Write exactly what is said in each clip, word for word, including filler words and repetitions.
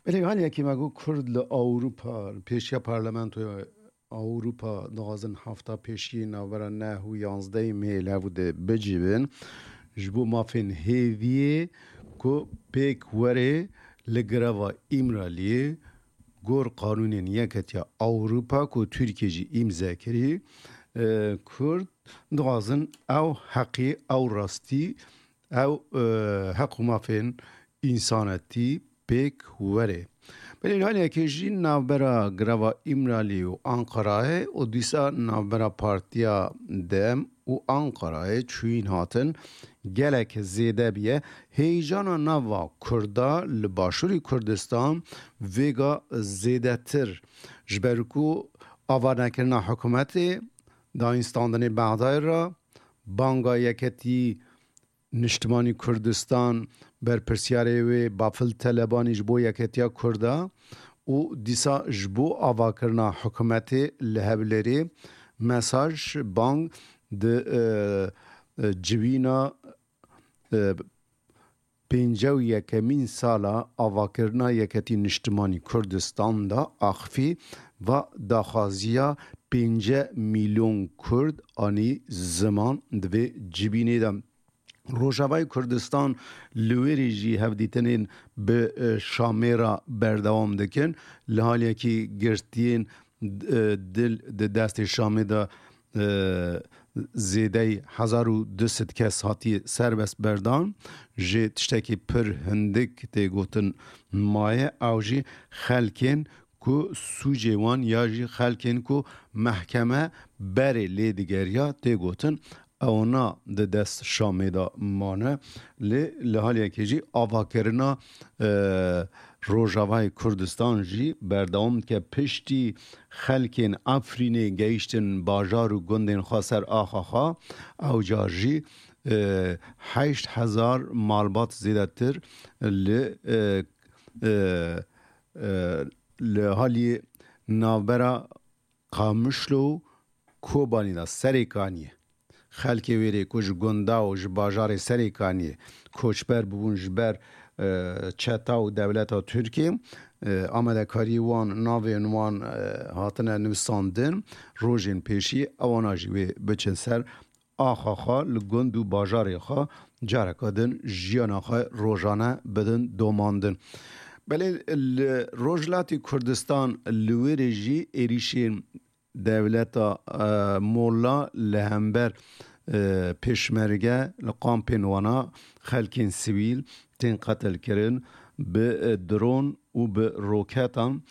Belê, hal yekê me got Kurd li Ewropa, li pêşiya Parlamentoya Ewropa dixwazin hefta pêşiyê navbera neh û yanzdehê mehê li hev de bicivin. Ji bo mafên hêviyê ku pêk were li greva Îmraliyê gor qanûnên Yeketiya Ewropa ku Tirkiye jî îmze kirî, e, Kurd dixwazin ew heqî, ew rastî, ew, e, heq û mafên însanetî pêk were. Belê li hal yekê jî navbera greva Îmralî û Anqarayê û dîsa navbera Partiya dem û Anqarayê çûyîn hatin gelek zêde biye. Heyecana nava Kurda li Başûrê Kurdistan vêga zêdetir, ji ber ku avanekirina hikûmetê, dayînstandinê Bexdayê re, banga yeketî Niştimanî Kurdistan, berpirsiyarê wê Bafil Telebanî ji bo yeketiya Kurda û dîsa ji bo avakirina hikûmetê li Hewlêrê mesaj, bang di, e, e, civîna, e, pêncî û yekemîn sala avakirina Yeketî Niştimanî Kurdistan de axifî va daxwaziya pêncî milyon Kurd anî ziman di vê civînê de. Rojavayê Kurdistan li wê rê jî hevdîtinên bi, e, Şamê re berdewam dikin. Li hal yekî girtiyên, e, dil di destê Şamê de, e, zêdeyî hezar û du sed kes hatiye serbest berdan. Jê tiştekî pir hindik tê gotin maye, ew jî xelkên ku sûcê wan ya jî xelkên ku mehkeme berê lê digeriya tê gotin, ewana di dest Şamê de mane. Lê li hal yekê jî avakirina, e, Rojavayê Kurdistan jî berdewam dike. Piştî xelkên Efrînê gehiştin bajar û gundên xwe ser axa xwe, ew car jî, e, heşt hezar malbat zêdetir li, e, e, e, li halî navbera Qamişlo û Kobanî de Serêkaniyê. Xelkê wê rê ku ji gunda û ji bajarê Serêkaniyê koçber bûbûn ji ber, e, çeta û dewleta Tirkiyê, e, amadekariyê wan, navên wan, e, hatine nivîsandin, rojên pêşî ewana jî wê biçin ser axa xwe, li gund û bajarê xwe careke din jiyana xwe rojane bidin domandin. Belê li Rojhilatê Kurdistan li wê rê jî êrîşên dewleta, e, Molla li hember, e, pêşmerge li kampên wana xelkên sivîl tên qetilkirin, bi, e, dron û bi roketan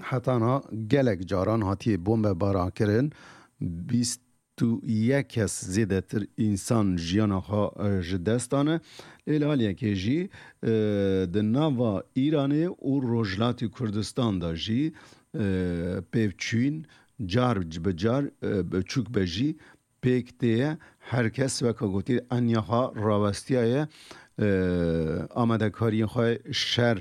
hetana gelek caran hatiye bombebarankirin. Bîst û yek kes zêdetir însan jiyana xwe, e, ji dest dane. Lê li hal yekê jî, e, di nava Îranê û Rojhilatê Kurdistan de jî, e, pêvçûyîn car bi car, e, biçûk be jî pêk tê ye. Her kes weke gotî enya xwe rawestiyaye, e, amadekariyên xwe şer,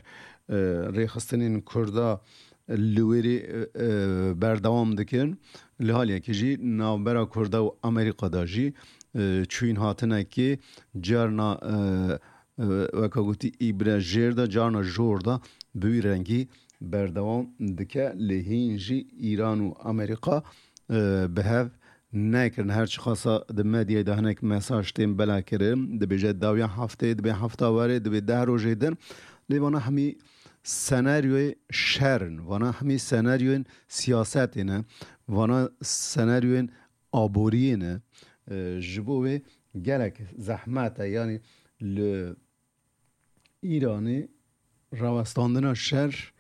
e, rêxistinên Kurda li wê rê, e, e, berdewam dikin. Li hal yekê jî navbera Kurda û Amerîka de jî, e, çûyîn hatinekê carna, e, e, weke gotî îbre jêr de, carna jor de bi wî rengî berdewam dike. Lê hîn jî Îran û Amerîka, e, bi hev nekirin. Her çiqasa di medyayê de hinek mesaj tên belakirin, dibêje dawiya hefteyê, dibê hefta werê, dibê deh rojê din. Lê vana hemî senaryoyê şer in. Vana hemî senaryoyên siyasetê ne. Vana senaryoyên aboriyê ne. E, ji bo wê gelek zehmet e. Yanî li Îranê rawestandina şer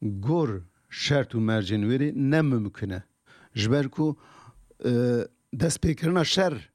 gor şert û mercên wê rê ne mimkun e. Ji ber ku, e, destpêkirina şer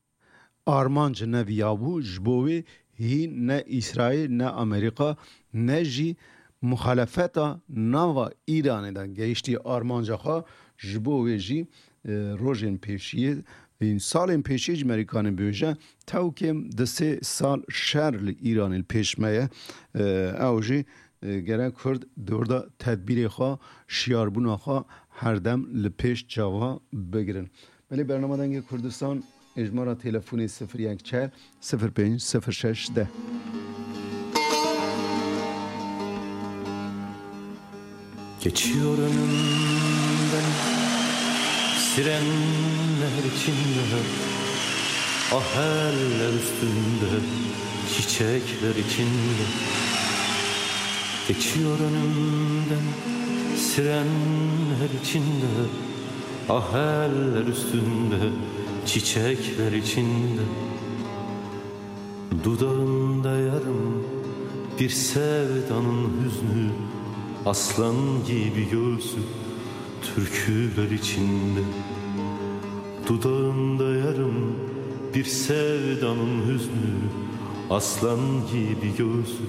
armanc ne viya bû, ji bo wê hîn ne Îsraîl, ne Amerîka, ne jî muxalefeta nava Îranê de gehiştî armanca xwe. Ji bo wê jî, e, rojên pêşiyê, ên salên pêşiyê ji Merîkanê bêje, tew kêm di sê sal şer li Îranê li pêş me ye. E, ew jî, e, gerek Kurd di wir de tedbîrê xwe, şiyarbûna xwe her dem li pêş çawa bigirin. Belê, bernama Dengê Kurdistan, êjmara telefonê sifir yek çar sifir pênc sifir şeş deh. Geçiyor önümden sirenler içinde, ah eller üstünde, çiçekler içinde. Geçiyor önümden sirenler içinde, ah eller üstünde, çiçekler içinde. Dudağında yarım bir sevdanın hüznü, aslan gibi göğsü türküler içinde. Dudağında yarım bir sevdanın hüznü, aslan gibi göğsü